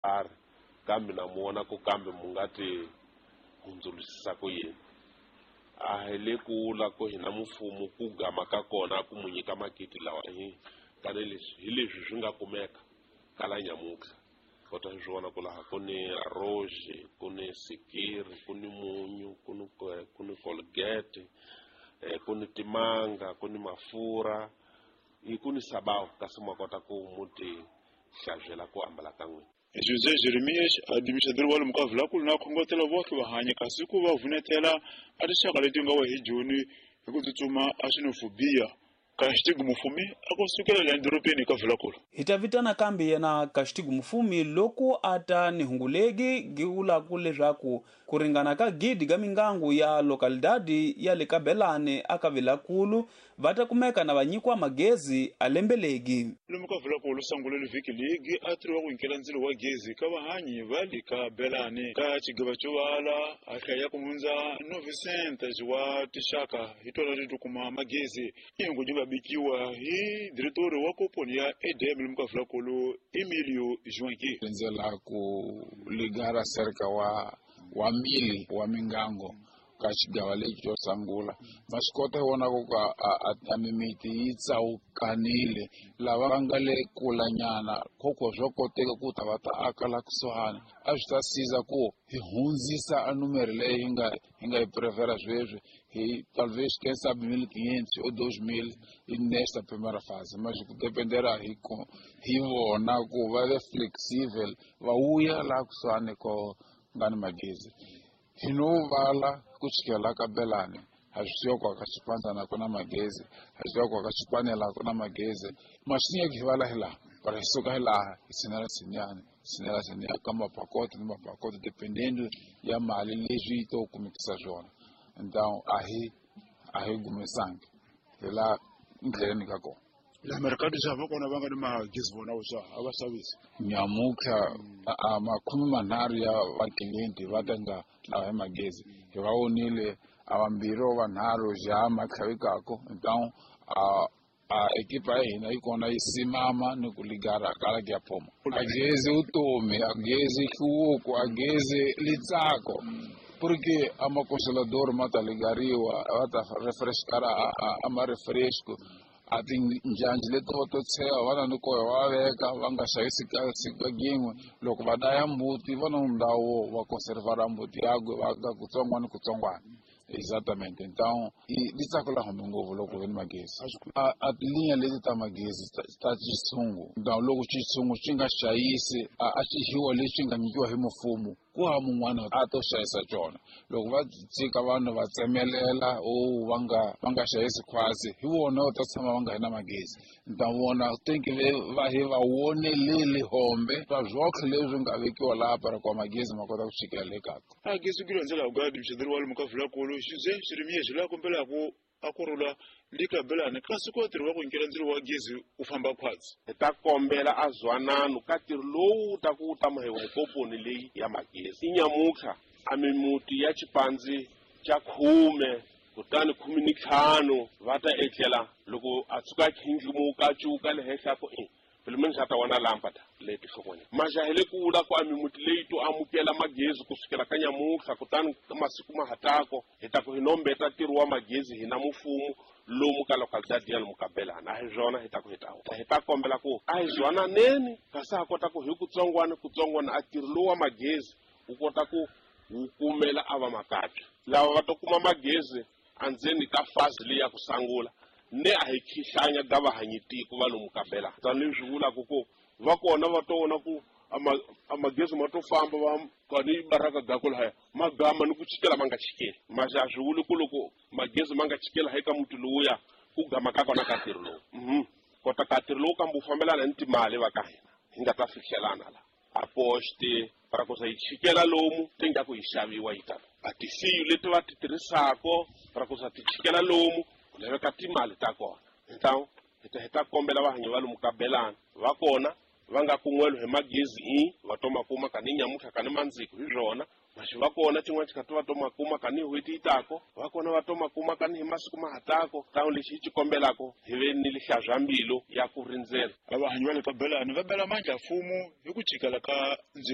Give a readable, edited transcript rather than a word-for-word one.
Karhi kambe na mu vona ku kambe mu nga ti hundzulusisa ku yini. A hi le ku la ku hina mfumo ku gama ka kona ku mu nyika makiti lawa hi kani leswi hi leswi swi nga kumeka kala nyamutlha. Kota swi vona ku laha ku ni arroz, ku ni sikiri, ku ni munyu, ku ni Colgate, ku ni timanga, ku ni mafurha, ku ni sabawu, kasi ma kota ku mu ti hlantswela ku ambala ka n'wina. José Jeremias, administrador wa lomu ka Vulakulu, na khongotela vohle vahanyi kasi ku va vunetela a tinxaka leti nga wa hi joni hi ku tsutsuma a xenofobia. Kaxitigu Mufumi a ku sukela la edorobeni ka Vulakulu. Hi ta vitana kambe yena Kaxitigu Mufumi loko a ta ni hungulegi gi leswaku ku ringana ka gidi ga mingangu ya localidade ya le Kabelane aka Vilakulu va ta kumeka na va nyikiwa magezi a lembelegi. Lomu ka Vulakulu sangulele vhiki ligi a tiriwa ku nyikela ndzilo wa gezi ka vahanyi va le ka Belane ka xigava xo vala a hlaya ku hundza 900 wa tinxaka hi tona leti kuma magezi. Ingu yi nga bikiwa hi diretori wa komponi ya EDM lomu ka Vulakulu, Emilio Joanqui. Rindzela ku ligara cerca wa 1000 wa mingango ka xigava lexi xo sungula. Ma swi kota vona ku ka a mimiti yi tsawukanile, lava va nga le kulanyana khokho swa koteka ku ta va ta aka la kusuhani. A swi ta siza ku hi hundzisa a numero leyi hi nga yi prefera sweswi hi talvez, quem sabe, 1500 ou 2000 nesta primeira fase, mas ku dependera hi vona ku va ve flexível, va vuya laha kusuhani ko nga ni magezi. Hi no vala ku chikela ka Belane, ha swi tiva ku ka Xipandzana ku na magezi, ha swi tiva ku ka Xipanela ku na magezi. Masinya hi vala hi laha para hi suka hi laha hi tshinela tshinyani, tshinela tshinyani ka mapakoto ni mapakoto, dependendo ya mali leswi yi to kumekisa swona. Então a hi gumesangi hi la ndleleni ka kona. La mercado xa va kona va nga ni magezi vona swa a va xavisi. Nyamutlha a 30 ya vaklienti va ta nga lava hi magezi. Hi va vonile a vambirhi o vanharhu ja matlhavikako. Então a ekipa ya hina yi kona yi simama ni ku ligara kala ke ya phoma. A gezi vutomi, a gezi nhluvuko, a gezi litsako, porque a macongelador ma ta ligariwa, va ta refrescar a ma refresco, a tinjhanji leti va to tsheva va na ni koyo va veka va nga xavisi ka siku gin'we. Loko va daya mbuti, va na ndhawu va conservar mbuti yakwe va ka kutsongwana kutsongwana. Exatamente. Então li tsako la hume ngopfu loko ve ni magezi. A tilinha leti ta magezi ta xitshungu. Então loko xitshungu xi nga xayisi a xihiwa lexi nga nyikiwa hi mfumo, ku hava mun'wana a to xayisa cona. Loko va tshika vanhu va tsemelela o va nga xayisi khwatsi, hi vona va ta tshama va nga hi na magezi. Então vona tem que ver va hi va vonelele hombe va zwohle leswi nga vekiwa laha para kwa magezi ma kota ku chikela le kako. A gezi ku ndlela ku administrador wa lomu ka Vulakulu José Jeremias la kombelaku a ku rhula le ka Belane kasi ku tirhi wa ku nyikela ndzilo wa gezi u famba khwatsi. Hi ta kombela a zwanano ka ntirho lowu wu ta ku wu ta mahiwa hi komponi leyi ya magezi. I nyamutlha a mimuti ya xipandzi xa 10 kutani 15 va ta etlela loko a tshuka a khindlimuka a cuka le henhla ku i pelo menos a ta wana lâmpada leti hlokweni. Maja hi le ku vula ku a mimuti leyi to amukela magezi kusukela ka nyamutlha kutani masiku ma hatako hi ta ku hi nombeta ntirho wa magezi hina mufumo lomu ka localidade ya lomu ka Belana. A hi swona hi ta ku hi ta kombela ku a hi zwananeni kasi ha kota ku hi kutsongwana kutsongwana a ntirho lowu wa magezi wu kota ku wu kumela a va makabya lava va to kuma magezi andzeni ka fazi leyi ya ku sangula ne a hi khihlanya ga vahanyi tiko va lomu ka Belana. Tanihi swi vulaka ku va kona va to vona ku a magezi ma to famba va kani baraka gako lahaya magama ni ku chikela ma nga chikeli. Maxa a swi vuli ku loko magezi ma nga chikela hi ka muti lowuya ku gama ka kona ka ntirho lowu kota ka ntirho lowu kambe wu fambelana ni timali va ka hina hi nga ta fihlelana la a poste para ku yi chikela lomu ti nga ku yi xaviwa yi tala a tisiyu leti va ti tirhisako para ku ti chikela lomu ku laveka timali ta kona. Então hi ta kombela vahanyi va lomu ka Belana va kona va nga kun'welo hi magezi i va to makuma kani nyamutlha kani mandziko hi swona maxi va kona xin'wana xikati va to makuma kani n'hweti yi tako va kona va to makuma kani hi masiku ma hatako tano lexi hi xi kombelako hi ve ni lihlazwa mbilu ya ku rindzela. Vahanyi va le ka Belane va bela mandla mfumo hi ku chikela ka ndzilo.